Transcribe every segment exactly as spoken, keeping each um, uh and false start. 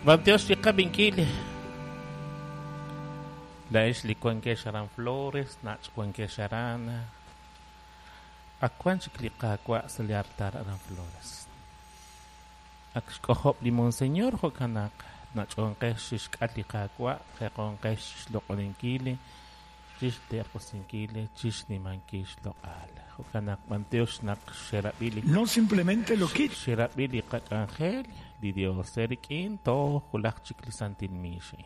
Bantiox li qabinkil. Laex li wankex aran Flores, nach wankex aran. Ak wan chik li Qaawa' sa' li altar aran Flores. Ak xk'ojob' li Monseñor jo'kan naq nach'onqex xixk'at li Qaawa', jeqonqex xloq'oninkil, chixterq'usinkil, chixnimankil xloq'al. Jo'kan naq bantiox naq xerab'i li No simplemente lo quita, xerab'i li qak'anjel, li Dios erik'in toj wulaj chik li santil miixin.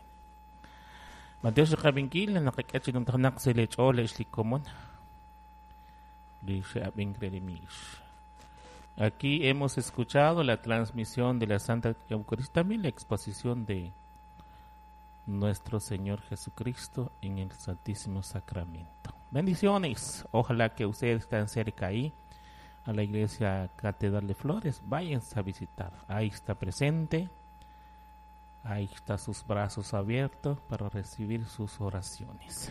Bantiox li qabinkil naqak'e chi numtajenaq sa' li ch'ool ex li komon li xe'ab'ink re li miix. Aquí hemos escuchado la transmisión de la Santa Eucaristía, también la exposición de nuestro Señor Jesucristo en el Santísimo Sacramento. Bendiciones. Ojalá que ustedes estén cerca ahí a la Iglesia Catedral de Flores. Váyanse a visitar. Ahí está presente. Ahí está sus brazos abiertos para recibir sus oraciones.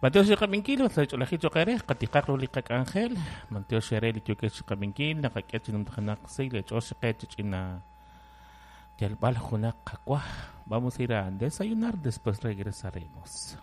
Mateo xqabinkil sa ch'olajil choqere qatiqaq ru li qak'anjel Mateo xere li yokex xqabinkil naqak'e chi numtajenaq si le ch'ox qe ch'ina yalb'al junaq qak'waj. Vamos a ir a desayunar, después regresaremos.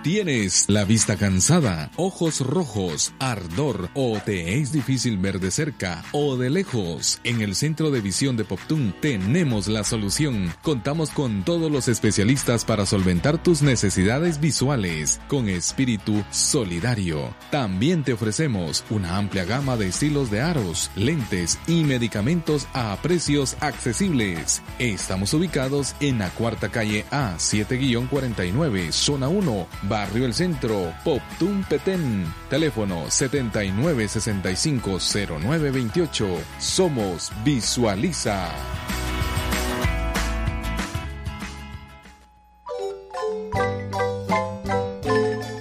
¿Tienes la vista cansada, ojos rojos, ardor o te es difícil ver de cerca o de lejos? En el Centro de Visión de Poptún tenemos la solución. Contamos con todos los especialistas para solventar tus necesidades visuales con espíritu solidario. También te ofrecemos una amplia gama de estilos de aros, lentes y medicamentos a precios accesibles. Estamos ubicados en la cuarta calle A siete guion cuarenta y nueve, zona uno, Barrio El Centro, Poptún, Petén. Teléfono setenta y nueve sesenta y cinco cero nueve veintiocho. Somos Visualiza.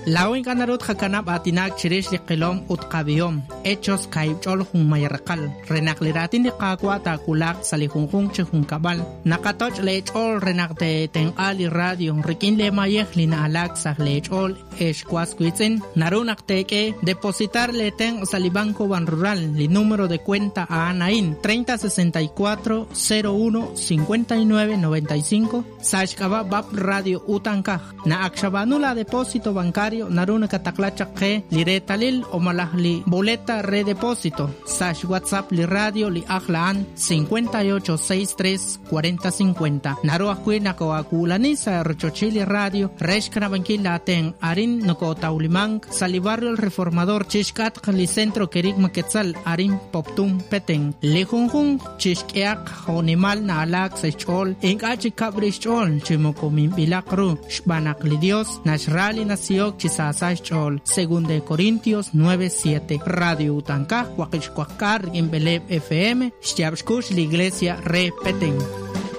Law inkanarut jakanab atinak chirish li qilom ut qabihom hechos kaibchol jun mayarqal renaq liratin li qaqwa takulaq sali junjun chi junkabal naqatoch lechol renaq te tenqal li radio rikin le mayej li naalak saj lechol excuascuitzen narunak teke depositar le ten sali Banco Banrural li número de cuenta a anain treinta sesenta y cuatro cero uno cincuenta y nueve noventa y cinco sashkaba bab radio utankaj na akshabanula depósito bancario naruna kataklacha que liretalil o malahli boleta redepósito sash WhatsApp li radio li ajlaan cincuenta y ocho sesenta y tres cuarenta cincuenta naru ajkuina koakulanisa rochochili radio reshkanabankil aten arin nokotaulimang sali barrio El Reformador chishkat li centro kerigma quetzal arin Poptún Petén li junjun chishkeak jonimal na alak sechol inkachi kabrichol chimokomimbilakru xbanak li Dios nashrali nasiok Chisasachol, según de Corintios nueve siete. Radio Utankaj, Huaquixcuacar, Beleb F M, Xyabxcush, la Iglesia Re Petén.